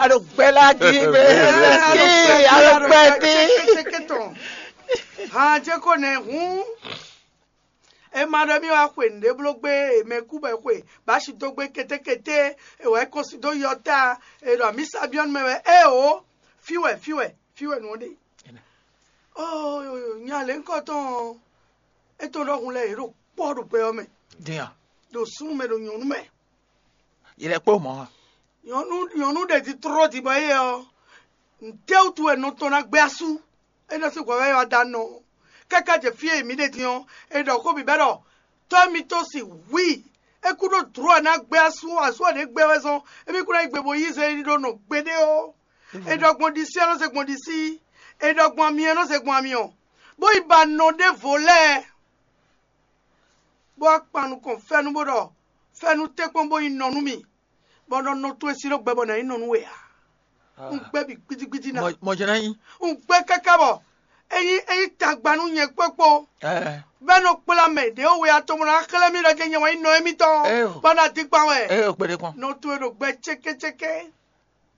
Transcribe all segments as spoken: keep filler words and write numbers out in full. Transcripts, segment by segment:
A ɖo gbɛ lá jí mɛ. Kí a ɖo gbɛ dí. Hàn jẹ́ kó nɛ hǔn. E ma ɖɔ mì wá xwe nǔɖé bló gbé, e mɛ kú bɔ e xwe bǎ si dó gbé kétékété, e wǎ ko si dó yɔta, e ɖɔ mǐ sa byɔ́ nú mɛ wɛ. Éeǒ, fí wɛ, fí wɛ, fí wɛ nǔ ɔ́ ɖe. Óo, nya lě ŋkɔ tɔn ɔ́, é tɔn ɖɔhun lɛ́ɛ yě ɖo kpɔ́ ɖo gbɛ ɔ́ mɛ, Din a? Ɖo súnnu mɛ, ɖo nyɔ̌nu mɛ. Yi lɛ kpó mɔ̌ a? Nyɔ̌nu nyɔ̌nu ɖě jí tló din bɔ éyɛ́ ɔ́, nǔtɛ́wútu wɛ nɔ tɔn ná gbé asú? É nɔ sín hwɛ̌ wɛ wá dó anɔ. Káká jɛ fí e mǐ ɖe din ɔ́, è ɖɔ xó bǐ bɛ́ ɖɔ tɔ́ mitɔn si wí é kú ɖó dlǒ ɔ́ ná gbé asú, asú ɔ́ ɖě gbé wɛ zɔn, émí kú ná yi gbe bó yí zɛ yi ɖó nɔ gbeɖé ó. È ɖɔ gbɔn ɖisí ɔ́ nɔ zɛ gbɔn ɖisí, è ɖɔ gbɔn ami ɔ́ nɔ zɛ gbɔn ami ɔ́, bó yi ba nɔ ɖěvo lɛ́ɛ, bó wá kpan nukɔn fɛ́nú bó ɖɔ fɛ́nú tɛ́nkpɔ́n bó nyí nɔ nú mì, bɔ nɔ nɔ towe sí ɖó gbɛ bɔ nǎ nyí nɔ nú we ǎ. Un gbɛ́ bǐ gbídígbídí ná. Mɔjɛnɛ nyi. Un gbɛ́ káká bɔ é nyí é nyí tagba nú nyɛ kpókpó. Ɛɛ. Bɛ́ nɔ kplá mɛ ɖě we atɔn bó ná xlɛ́ mì ɖɔ jɛ nyɛ wɛ nyí nɔ émítɔn. Ɛ o. Bɔ ná dín kpan wɛ. Ɛ o kpeɖe kɔn. Nɔ towe ɖo gbɛ cékécéké.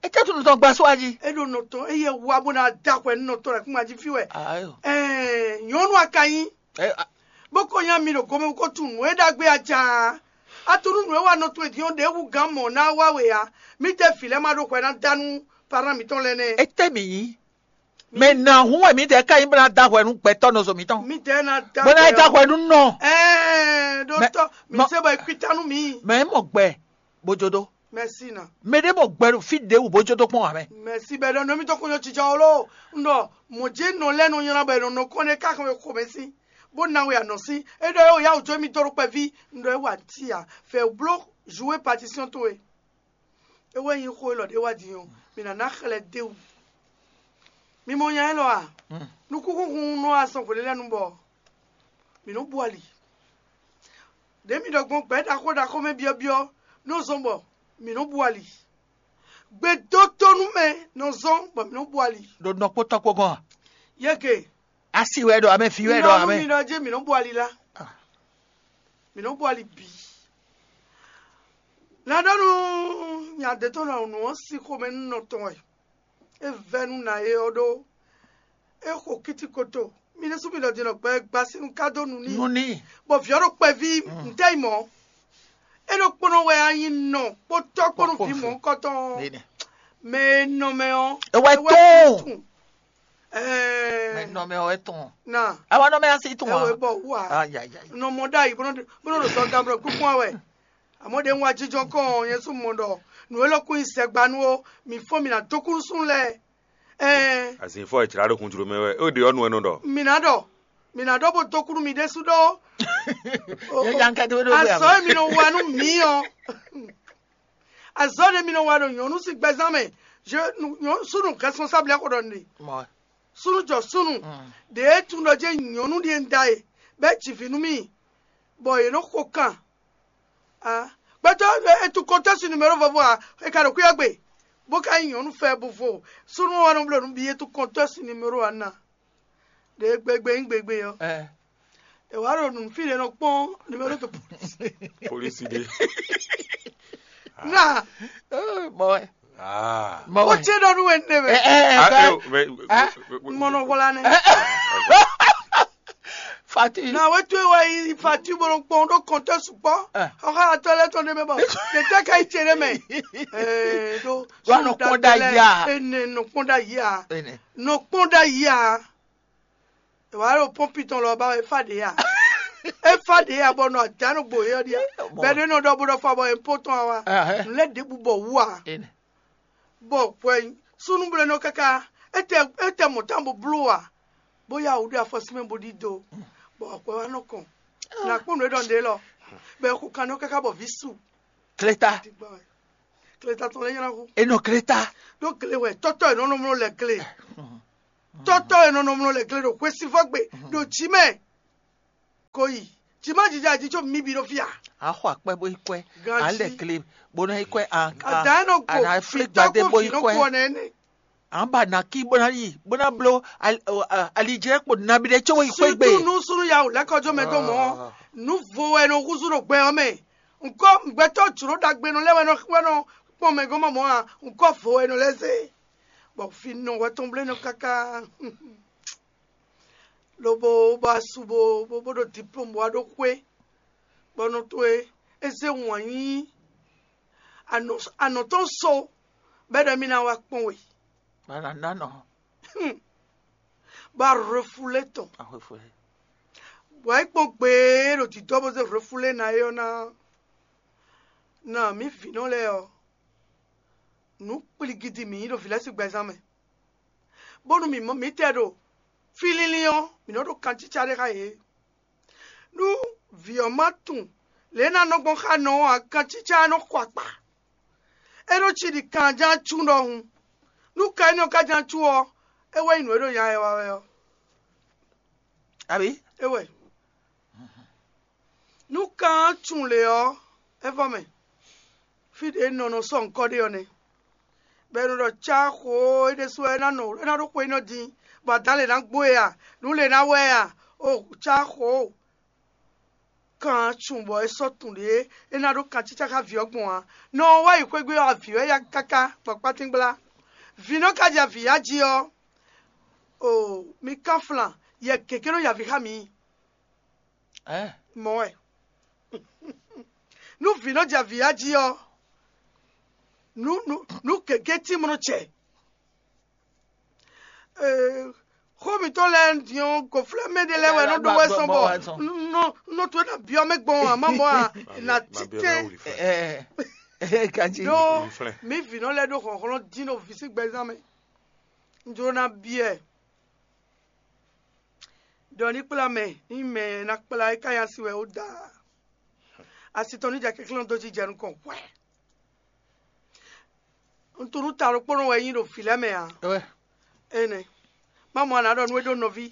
E tɛ tunu tɔn gba só aji. É ɖo nɔ tɔn é yɛ wá bó ná dó akwɛ nú nɔ tɔn lɛ kún ma jí fí wɛ. Ayo. Ɛɛ nyɔnu a ka nyí. Ɛ a- Bó ko nya mi ɖo gomɛ bó ko tunú nǔ e ɖagbe a jaan. A tunú nǔ e wa nɔ towe din ɔ́ ɖě wú gǎn mɔ̌ ná wá we ǎ. Mǐ tɛ vǐ lɛ́ɛ ma ɖo hwɛ ná dá nú parán mǐtɔn lɛ́ɛ nɛ́. E tɛ mi nyi. Mɛ na hun wɛ mi tɛ ka nyi bó ná da hwɛ nú gbɛtɔ nɔ zo mitɔn. Mǐ tɛ ná dá Bó ná da ɔ. hwɛ nú nɔ. Ɛɛ ɖó Mɛ- tɔ mǐ mɔ- se bɔ e kwita nú mǐ. Mɛ mɔ gbɛ bojodo. Mɛsi na. Mɛ ɖe mɔ gbɛ ɖo fi ɖe wò bojodo kpɔn amɛ. Mɛsi bɛ ɖɔ nɔ mítɔn kó nyɔ jija wolo. N ɖɔ mɔ̌ jé nɔ lɛ́ɛ nɔ nylá bɔ è nɔ nɔ kɔn ɖe káxɔn e xomɛ sín bó ná we anɔ sín. É ɖɔ é wò yá wò jó mì dó ɖo kpɛví. N ɖɔ é wa ti a fɛ bló jouer partition towe. É wɛ nyí xó élɔ́ ɖé wá din ɔ́, mǐ ná ná xlɛ́ dé wú. Mi mɔ nya élɔ́ a? Nukúnxúnxún nɔ wá sɔn hwelélɛ́nu bɔ mǐ nɔ́ bu ali. Ɖě mi ɖɔ gbɔn gbɛ̌ ɖaxó ɖaxó mɛ byɔ́byɔ́ nɔ zɔn bɔ mǐ nɔ́ bu ali. Gbedótónú mɛ nɔ zɔn bɔ mǐ nɔ́ bu ali. Ɖo nɔkpótɔ́ kpó gɔ́n a? Yɛ́gɛ, Asi wɛ ɖo amɛ, fi wɛ ɖo nɔ nú amɛ. Mi nɔ jɛ mǐ nɔ́ bu ali lá. Ah. Mǐ nɔ́ bu ali bǐ. Na ɖɔ nú nya ɖě tɔn nɔ nǔ ɔ́ sín xomɛ nú nɔ tɔn wɛ. É vɛ́ nú nǎ é ɔ́ ɖó é xo kítíkoto. Mi ɖésú mi ɖɔ din ɖɔ gbɛ gba sín nú ká dó nu n'i. Nu ní. Bɔ vǐ ɔ́ ɖo kpɛví ntɛ́ yi mɔ̌. É ɖo kpɔ́nɔ wɛ a nyi nɔ kpótɔ́ kpó nú vǐ mɔ̌hunkɔtɔn ɔ́. Nene. Mɛ e nɔ mɛ ɔ́. É wɛ é wɛ tún. tún. Ɛɛ, Mɛ nɔ mɛ ɔ́ tún. Na Awa nɔ mɛ asi tún ɛ wɛ a. bɔ wú a. Ayayi. Nɔ mɔ ɖ'ayǐ bó nɔ ɖo sɔ gablɔ kúkú wɛ. Àmọ́ ɖe ń wá jíjɔ kɔn yẹn sún mɔ ɖɔ nǔ élɔ́ kún nyi sɛgba nú ó, mǐ fɔ́n mǐ ná dó kúnú súnnu lɛ́ɛ. Ɛɛ, Azin fɔ ìtsirá ɖo kun jló mɛ wɛ. Ó ɖe ɔ́ nu ɛnɔ ɖɔ. mǐ ná ɖɔ, mǐ ná ɖɔ bó dó kúnú mi ɖésú ɖó. Yɛ yan kɛtɛ wɛ ɖo gbé Azɔ e mi nɔ wa nú mǐ ɔ́, azɔ ɖe mi nɔ wa ɖo nyɔ̌nu sín gbɛzán mɛ, je nyɔ̌nu súnnu responsable xo ɖɔ nɖe. Mɔ. Súnnu jɔ súnnu, Mm. ɖe é tún ɖɔ jɛ nyɔ̌nu ɖíe un da e, bɔ é ji vǐ nú mì, bɔ yě nɔ xo kan. Ah, gbɛtɔ́ e tún kɔntɔ́ sin numéro vɔvɔ a, e ka ɖo kwíyɔ gbe, bó ka nyí nyɔ̌nu fɛ bó vo. Súnnu wa nɔ bló nú bí e tún kɔntɔ́ sin numéro a ná. Ɖe gbegbe nyí gbegbe ɔ́. Ɛ. È wá ɖo nǔ fí ɖé nɔ kpɔ́n numéro de police. Polisi de. Na, Mɔ wɛ. Ah. Mɔ ó wɛ. tse ɖɔ nú wɛ ne Ɛ mɛ. ɛ Ah, ɛ. eh, mais- Ah. Mɔnɔ wla ne. Fati. Na wɛ tu wa yi fati bolo kpɔn ɖo kɔntɛ sukpɔ. Eh. Ɔha atɔ lɛ tɔn ɖe mɛ bɔ. Ɖe tɛ ka yi tse ɖe mɛ. Ɛɛ ɖo. Wa nɔ kpɔn ɖa yi a? Ene nɔ kpɔn ɖa yi a? Ene. Nɔ kpɔn ɖa yi a? Wa ɖo pɔmpi tɔn lɔ ba efa ɖe ya. Efa ɖe ya bɔ nɔ adanu gbo yɔ ɖia. Mɔ. Bɛ ɖe nɔ ɖɔ bo ɖɔ fa bɔ epo tɔn wa. Ahɛ. Nlɛ ɖe bu bɔ wu a? Ene. Bɔ hwɛ súnúblɛ́nɔ káká étɛ étɛ mɔ̌ tán bó bló a, bó yá wǔ ɖé afɔsímɛ bó ɖído, bɔ akwɛ wá nɔ kɔn. Nà kpɔ́n nǔ e ɖɔ nɖe lɔ, bɔ ɛ xo kannɔ káká bɔ vǐ su. Kleta. Kleta tɔn lɛ nyana xó. Enɔ kleta. Ɖó gle wɛ tɔ́tɔ́ e nɔ nɔ mlɔ lɛ gle. Tɔ́tɔ́ e nɔ nɔ mlɔ lɛ gle ɖo hwesivɔ́ gbe ɖo jǐ mɛ. Ko yi jǐ má jija jí có mi bǐ ɖo fí a? A xɔ akpɛ bó yi kɔɛ. Ganji. A lɛ kle bó ná yi kɔɛ. A Ada enɔ go a na fli gbadé bó yi nɔ kɔɛ. Kɔ nɛ ne. An ba na kí bó ná yi bó ná bló ali- o, a- alijɛ kpo nabi ɖe tso yi xwé gbe. Surtout nu sunu ya o lɛkɔjɔ mɛ dɔ mɔ. Nu vo wɛ nɔ huzu ɖo gbɛ ɔ mɛ. Nkɔ gbɛtɔ jlo ɖagbe nɔ lɛ wɛ nɔ wɛ nɔ Kpɔ́n mɛ gɔ́n mɔ mɔ̌ a, un kɔ́ vo e nɔ lɛ́ zé, bɔ fí nɔ hwɛ tɔn blé nɔ káká. Lobo bɔ asu bo bó ɖo diplôme bó wá ɖó xwé, bɔ nɔ towe é zé wǎn nyi anɔ tɔn so, bɔ é ɖɔ émí ná wá kpɔ́n we. Bana ná nɔ. Bɔ a refule tɔn. Ahwefule. Bɔ é kpɔ́n gbe e ɖo dǐdɔ́ bó zé refule ná é ɔ́ ná. Na mǐ vǐnɔ lɛ́ɛ ɔ́, nǔ kpligidi mǐ nyí ɖo vǐ lɛ́ɛ sín gbɛzán mɛ, bónú mǐ mɔ mǐtɛɛ ɖo fí línlín ɔ́, mǐ nɔ ɖo kancícá ɖé xá yě. Nú vǐ ɔ́ ma tunwun lě e é ná nɔ gbɔn xá nɔ ɔ́ ǎ, kancícá ɔ́ nɔ xɔ akpa. É nɔ cí ɖi kanján cú ɖɔhun. Nú kan énɛ́ ɔ́ ka ján cú ɔ́, é wɛ nyí nǔ e ɖo nya ɛ wa wɛ ɔ́. Abǐ? É wɛ. Nú kan ɔ́ tunwun lě ɔ́, é vɔ mɛ. Fí ɖě nɔ nɔ sɔ́ ŋkɔ́ ɖe ɔ́ nɛ́. Bɔ è nɔ ɖɔ cáxo é ɖésú wɛ é ná nɔ é ná ɖó xwe énɛ́ din, bɔ adǎn lě ná gbo e a, nǔ lě ná wɛ a, o cáxo. Kan cun bɔ é sɔ́ tunwun ɖě é ná ɖó kancícá xá vǐ ɔ́ gbɔn ǎ. Nɔ ɔ́ wá yi xwé gbe ɔ́, avǐ wɛ yá káká gbɔn kpátíngbla. Vǐ nɔ ka jɛ avǐ yá jí ɔ́, o mi kán flan, yɛ gěgé nɔ ya avǐ xá mǐ. Mɔ̌ wɛ. Nú vǐ nɔ jɛ avǐ yá jí ɔ́, nǔ nǔ nǔ gěgé tín mɔ nɔ jɛ. Xó mǐtɔn lɛ́ɛ din ɔ́, gǒflɛ́mɛ ɖé lɛ́ɛ wɛ nɔ ɖó wɛ sɔn bɔ nɔ nɔ towe ná byɔ́ mɛ gbɔn ǎ, má mɔ ǎ, è nǎ títɛn. Ganjí. Ɖó mǐ vǐ nɔ lɛ́ɛ ɖó hlɔ̌nhlɔ́n dín ɖo vǐ sín gbɛzán mɛ. Un jló ná byɔ́ ɛ ɖɔ ní kplá mɛ, ní mɛ ná kplá é ká nyi asi wɛ ó da. Asi tɔn ní jɛ kɛnklɛ́n dó jijɛ nukɔn hwɛ. Un tunú ta ɖokpónɔ wɛ nyí ɖo vǐ lɛ́ɛ mɛ ǎ. Énɛ́. Má mɔ a nǎ ɖɔ nú é ɖó nɔví.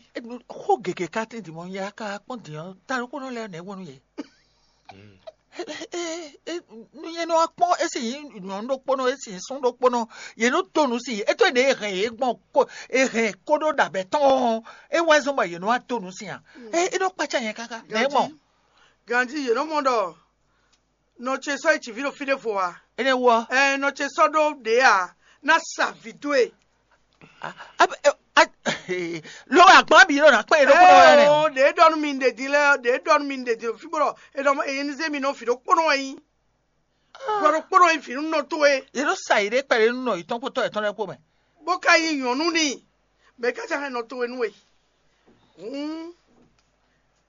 Xó gěgé ka tín din mɔ nya ka kpɔ́n din ɔ́, ta ɖokpónɔ lɛ́ɛ nɛ̌ wɔ nú yě? Nú yě nɔ wá kpɔ́n é sì nyí nyɔ̌nu ɖokpónɔ, é sì nyí sún ɖokpónɔ, yě nɔ dó nǔ si é tó ɖě è hɛn yě gbɔn, è hɛn kó ɖó ɖabɛ tɔn ɔ́, é wá zɔ́n bɔ yě nɔ wá dó nǔ si ǎ. É nɔ kpácá nyɛ káká nɛ̌ mɔ? Ganjí yě nɔ mɔ ɖɔ nɔ ce sɔ́ yi cǐví ɖo fí ɖěvo ǎ. Énɛ́ wú ɔ́? Ɛ nɔ ce sɔ́ ɖó ɖě ǎ, ná sa vǐ dó e. Lo agban bǐ ɖo ná kpɛn ɖokpónɔ wɛ nɛ. Ɖě ɖɔ nú mi ɖe din lɛ́ɛ, ɖě ɖɔ nú mi ɖe din fí bó ɖɔ è nɔ è ní zé mi nɔ vǐ ɖokpónɔ wɛ nyí. Vǐ ɖokpónɔ nyí vǐ nú nɔ towe. Yě ɖo sa yi ɖé kpɛɖé nú nɔ yětɔn kpótɔ́ yětɔn lɛ́ɛ kpó mɛ. Bó ka nyí nyɔ̌nu n'i, mɛ ká ca hɛn nɔ towe nú we. Hǔn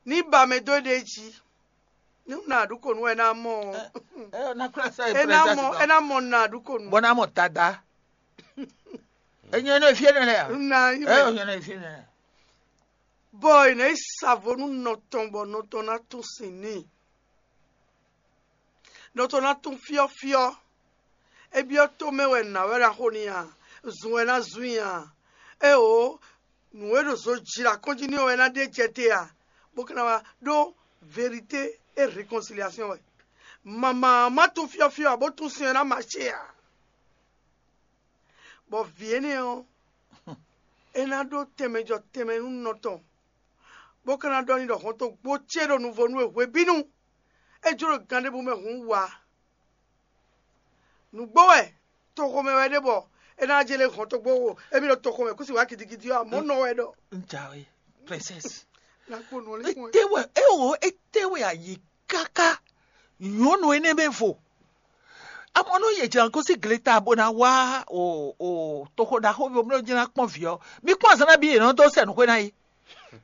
ní ba mɛ dó éɖée jí, ní un ná ɖu kǒ nú wɛ ná mɔ ɔ́. É ná kplá sɔ é ná mɔ é ná mɔ ná ɖu kǒ nú. Bɔ ná mɔ dada. Enyo énɛ́ fí énɛ́ lɛ a? Ná yí mɛ. Enyo énɛ́ fí énɛ́ lɛ. Bɔ è nǎ yi sa vo nú nɔ tɔn bɔ nɔ tɔn ná tún sin n'i. Nɔ tɔn ná tún fyɔ́fyɔ́. É byɔ́ tó mɛ wɛ nǎ wɛ ná xo n'i a? Zun wɛ ná zun i a? Éeǒ, nǔ e ɖo zo jlá kɔn jí n'i ɔ́ wɛ ná ɖe jɛ te a? Bó ka ná wá ɖó vérité et réconciliation wɛ. Mama má tún fyɔ́fyɔ́ ǎ, bó tún sin ɔ́ ná mace ǎ. Bɔ vǐ énɛ́ ɔ́, é ná ɖó tɛnmɛ jɔ tɛnmɛ nú nɔ tɔn, bó ka ná ɖɔ n'i ɖɔ hɔntogbó ce ɖo nuvo nú we hwebínu. É jló ɖo gan ɖěbǔ mɛ hǔn wǎ. Nǔgbó wɛ toxo mɛ wɛ ɖe bɔ é ná jɛ lé hɔntogbó wo émí ɖo toxo mɛ kú si wǎ gidigidi ɔ́, amɔ̌ nɔ wɛ ɖɔ. N jǎwe, princesse. Nakpó nɔ lé kún ɛ. Étɛ́ wɛ é wo étɛ́ wɛ a yi káká nyɔ̌nu énɛ́ mɛ vo? Amɔ̌ nú yě jɛ gosín gleta bó ná wá o o toxo ɖaxó ví omló jí ná kpɔ́n vǐ ɔ́, mi kpɔ́n azǎn nabí yě nɔ dó sɛ nǔxwé ná é?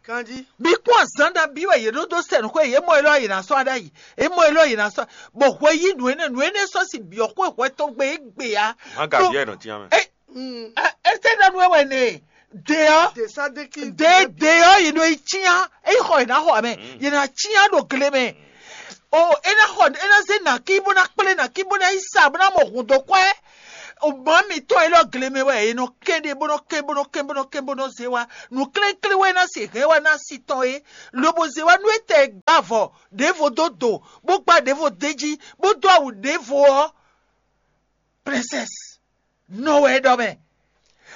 Kanjí. Mi kpɔ́n azǎn nabí wɛ yě nɔ dó sɛ nǔxwé, yě mɔ élɔ́ yě ná sɔ́ ɖ'ayǐ, yě mɔ élɔ́ yě ná sɔ́, bɔ hwɛ yí nǔ énɛ́ nǔ énɛ́ sɔ́ sin byɔ̌ xwé hwɛ tɔn gbe é gbe ǎ. Má gǎ vǐ ɛ nɔ cyán mɛ. Ɛ ɛ tɛ́ ɖɔ nú ɛ wɛ nɛ? Dě ɔ́, Dě Sadéki. Dě dě ɔ́, yě nɔ yi cyán, é yi xɔ yě ná xɔ amɛ, yě ná cyán ɖo gle mɛ. O é ná xɔ é ná zé nàkí bó ná kplé nàkí bó ná yi sa bó ná mɔ hǔn dó kwɛ́. O mǎ mitɔn élɔ́ gle mɛ wɛ è nɔ kɛn ɖe bó nɔ kɛn bó nɔ kɛn bó nɔ kɛn bó nɔ zé wá. Nǔ klénklén wɛ é ná se hɛn wá ná si tɔn é, lobo zé wá nú é tɛ gbá avɔ ɖěvo dó do, bó gbá ɖěvo d'é jí, bó dó awu ɖěvo ɔ́, princesse nɔ wɛ é ɖɔ mɛ.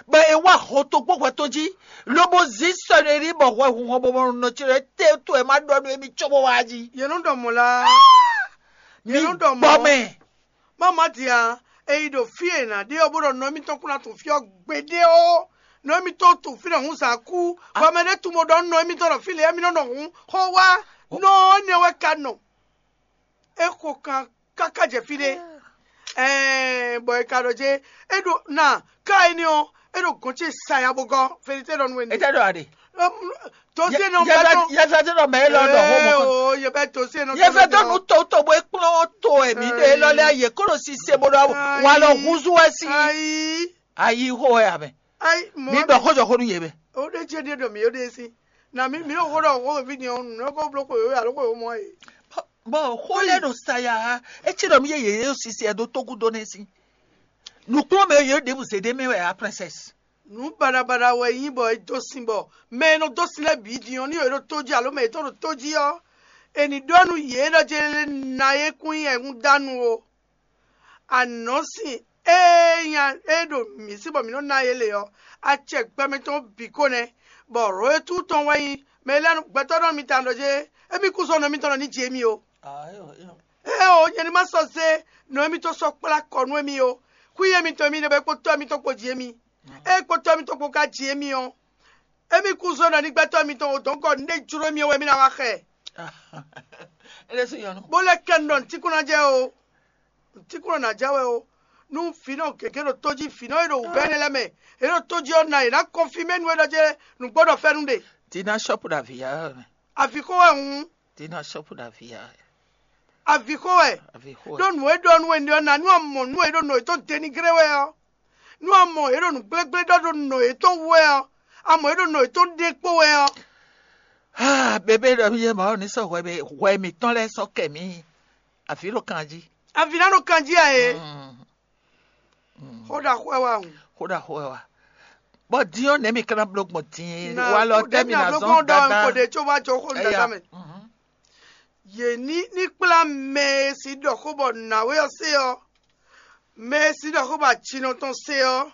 Bɔ è wá hɔntogbó hwɛtɔn jí, lobo zí sɔnɛrí bɔ hwɛ hunhɔn bɔ nɔ ce lɛ́ɛ tɛ to ɛ má ɖɔ nú émí cóbó wá jí. Yě nɔ ɖɔ mɔ̌ la. Mi Yě nɔ ɖɔ gbɔ mɔ̌. Mɛ. Má má dia, E yi ɖo fí e è nǎ ɖe ɔ́, bó ɖɔ nɔ émítɔn kún ná tunwun fí ɔ́ gbeɖé ó. Nɔ émítɔn tunwun fínɛ́ hǔn zǎn kú, bɔ mɛ ɖé tunwun bó ɖɔ nú nɔ émítɔn ɖɔ fí lě émí nɔ nɔ hǔn xó wá. Nɔ énɛ́ wɛ ka nɔ. É xo kan káká jɛ fí ɖé. Ɛɛ, bɔ è ka ɖɔ jɛ é ɖo na ká énɛ́ ɔ́, é ɖo gɔ̌n ce saya bó gɔ́. Félite ɖɔ nú we ní. Étɛ́ ɖɔ aɖe? Tozé nɔ bɛ tɔn. Yɛfɛ tɛ ɖɔ mɛ élɔ́ ɖɔ xó mɔ kɔn. Yɛfɛ tɔn nú toto bó kplɔ́n to èmi ɖe élɔ́ lɛ́ɛ yě kó ɖo sise bó ɖɔ wa lɔ húzú wɛ sí. Ayi. Ayi xó wɛ amɛ. Ayi mɔ. Mi ɖɔ xó jɔ xó nú yě mɛ. O ɖe jɛ ɖe ɖɔ mi o ɖe sí. Na mi mi ɖo xó ɖɔ xó vi ni ɔnu nɔ kó bló xó yó alo xó yó mɔ e. Bɔn xó lɛ́ɛ ɖo saya ha, é cí ɖɔ mì yé yě ɖo sisi ɛ ɖó tógúdó nɛ́ sín. Nǔkplɔ́nmɛ e yě ɖěbǔ zé ɖ'é mɛ wɛ ǎ, princesse. Nǔ baɖabaɖa wɛ nyí bɔ è dó sin bɔ mɛ e nɔ dó sin lɛ́ɛ bǐ din ɔ́, ní yě ɖo tó jí alo mɛ yětɔn ɖo tó jí ɔ́, è nǐ ɖɔ nú yě ɖɔ jɛ na é kún nyí ɛhúndánu o. Anɔ̌sin e nya e ɖo mǐ sí bɔ mǐ nɔ ná yě lě ɔ́, acɛ gbɛmɛ tɔn bǐ ko nɛ́, bɔ Royɛtu tɔn wɛ nyí mɛ e lɛ́ gbɛtɔ́ ɖɔ mi tawun ɖɔ jɛ émí kú sɔ́ nɔ émítɔn nɔ ní ji émí o. Éeǒ, nyɛ ní ma sɔ́ zé nɔ émítɔn sɔ́ kplá kɔ nú émí o. Xwí émítɔn émí nɛ́ bɔ é kpó tɔ́ émítɔn kpó ji émí. Ée kpó tɔ́ émítɔn kpó ka ji émí ɔ́, émí kú zɔ́n ɖɔ ní gbɛtɔ́ émítɔn o dɔ̌nkɔ nǔɖé jló émí ɔ́ wɛ émí ná wá xɛ. Bó lɛ́ kɛ nu ɖɔ nǔtínkún ná jɛ o. Nǔtínkún ná jɛ wɛ o. Nú vǐnɔ gěgé ɖo tó jí, vǐnɔ e ɖo wǔvɛ́ énɛ́ lɛ́ɛ mɛ, è ɖo tó jí ɔ́ ná è nǎ kɔnfimé nú é ɖɔ jɛ nǔgbó ɖɔ fɛ́nú ɖe. Tina shɔ́pu ɖo avǐ ya wɛ mɛ. Avǐ xó wɛ hǔn. Tina shɔ́pu ɖo avǐ ya wɛ. Avǐ xó wɛ. Avǐ xó wɛ. Ɖó nǔ e ɖɔ nú we ɔ́, ná nú a mɔ nú e ɖo nɔ yětɔn dénigré wɛ ɔ́, nú a mɔ yě ɖo nǔgblégblé ɖɔ ɖo nɔ yětɔn wú wɛ ɔ́, a mɔ yě ɖo nɔ yětɔn ɖe kpó wɛ ɔ́. Ah, bébé ɖɔ mì yé Mawu ní sɔ́ hwɛ mì hwɛ mǐtɔn lɛ́ɛ sɔ́ kɛ mǐ. Avǐ ɖo kan jí. Avǐ ná ɖo kan jí a e. Mm. Xó ɖaxó wɛ wá hùn. Xó ɖaxó wɛ wá. Bɔ din ɔ́, nɛ̌ mi ka ná bló gbɔn din? Walɔ tɛ́ mi ná zɔn dada. Ko ɖe tso wá jɔ xó nu dada mɛ. Yě ní ní kplá mɛ e si ɖɔ xó bɔ nǎwe ɔ́ se ɔ́, mɛ e si ɖɔ xó bɔ acinɔ tɔn se ɔ́,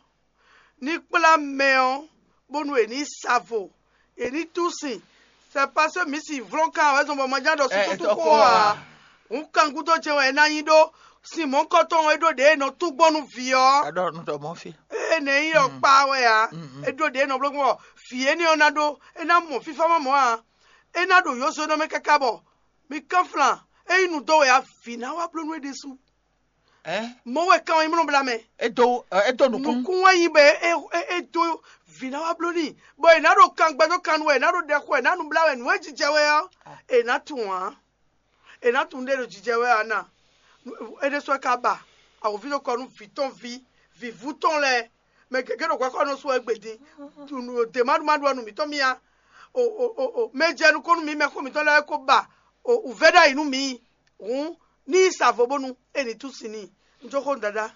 ní kplá mɛ ɔ́, bónú è ní sa vo, è ní tú sin. C'est parce que mǐ si vlɔ́n kan wɛ zɔn bɔ ma ján ɖɔ súkútú xó ɔ́ ǎ. Hǔn kan gúdo ce wɛ é ná nyí ɖó sin mɔ̌hunkɔtɔn e ɖó ɖě e nɔ tú gbɔn nú vǐ ɔ́. Ée nɛ̌ nyí ɔ́ kpa wɛ ǎ. É ɖó ɖě e nɔ bló gbɔn bɔ vǐ énɛ́ ɔ́ ná ɖó, é ná mɔ fífá ma mɔ̌ ǎ. É ná ɖo yǒzo nɔ mɛ káká bɔ mi kánflán, é nyí nǔ dó wɛ ǎ, vǐ ná wá bló nú é ɖésú. Mɔ̌ wɛ kan ɔ́ nyí mlɔ́ bla mɛ. É dó é dó nukún. Nukún wɛ nyí bɔ é é é dó vǐ ná wá bló n'i, bɔ è nǎ ɖo kan gbɛdó kan nu wɛ, è nǎ ɖo ɖɛ xo, è nǎ nu blá wɛ, nǔ e jijɛ wɛ ɔ́, è nǎ tunwun ǎ. È nǎ tunwun ɖé ɖo jijɛ wɛ ǎ na. É ɖésú wɛ ka ba awǒvi ɖo kɔ nú vǐ tɔn ví, vǐvú tɔn lɛ́ɛ, mɛ gěgé ɖo hwɛxɔ́ nɔ sú wɛ gbe din. Dě maɖumaɖu ɔ́ nu mǐtɔn mía. O o o o mɛ jɛ nukɔn nú mǐ mɛxó mǐtɔn lɛ́ɛ ko ba o wǔvɛ́ ɖ'ayǐ nú mǐ. Hǔn ní yi sa vo bónú é ní tú sin n'i. Un jó xó nú dadá.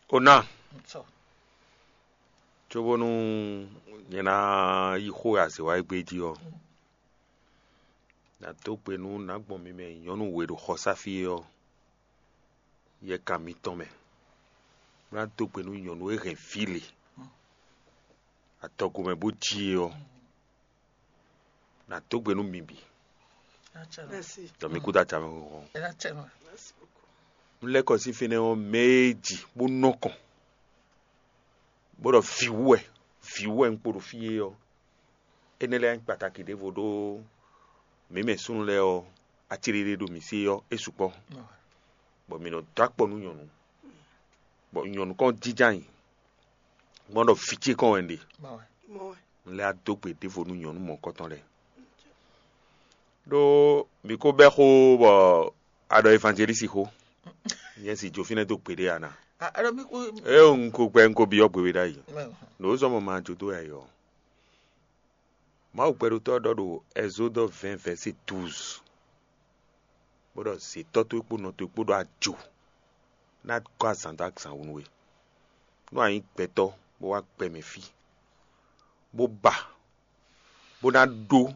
Ó ná, cóbónú nyɛ ná yí xó e azě wa égbé jí ɔ́, nǎ dó gbe nú nǎ gbɔn mi mɛ nyɔ̌nu we ɖo xɔsá fí é ɔ́, yɛkan mitɔn mɛ, bó ná dó gbe nú nyɔ̌nu e hɛn vǐ le adɔgo mɛ bó jí é ɔ́, nǎ dó gbe nú mi bǐ. Ɖɔ mi kúdó acamɛ xɔxɔ. Un lɛ́ kɔ sín fínɛ́ ɔ́, mɛ e ji bó nɔ kɔn, bó ɖɔ vǐ wú wɛ, vǐ wú wɛ un kpo ɖo fí é ɔ́, énɛ́ lɛ́ɛ nyí kpataki ɖěvo ɖó mǐ mɛ súnnu lɛ́ɛ ɔ́, acéɖéɖé ɖo mǐ sí ɔ́, é sukpɔ́. Bɔ mǐ nɔ dó akpɔ nú nyɔ̌nu, bɔ nyɔ̌nu kɔn jínjɔ́n ayǐ, gbɔn ɖɔ vǐ ce kɔn wɛ un ɖe. Un lɛ́ wá dó gbe ɖěvo nú nyɔ̌nu mɔ̌hunkɔtɔn lɛ́ɛ. Ɖó mǐ ko bɛ́ xó bɔ a ɖɔ evanjelísi xó. Nyɛ si jó fínɛ́ dó gbeɖé a ná? Ée un ko gbɛ́ un ko byɔ́ gbe we ɖ'ayǐ. Nǔ e zɔ́n mɔ ma jó dó wɛ ayǐ ɔ́, Mawu gbɛɖotɔ́ ɔ́ ɖɔ ɖo Ɛzódɔ vɛ̌ɛn vɛ̌si douze, bó ɖɔ: "Zětɔ́ towe kpó nɔ towe kpó ɖo ajo ná gɔ́ azǎn dó azǎn wú nú we. Nú a nyǐ gbɛtɔ́ bó wá gbɛ mɛ fí, bó ba, bó ná ɖó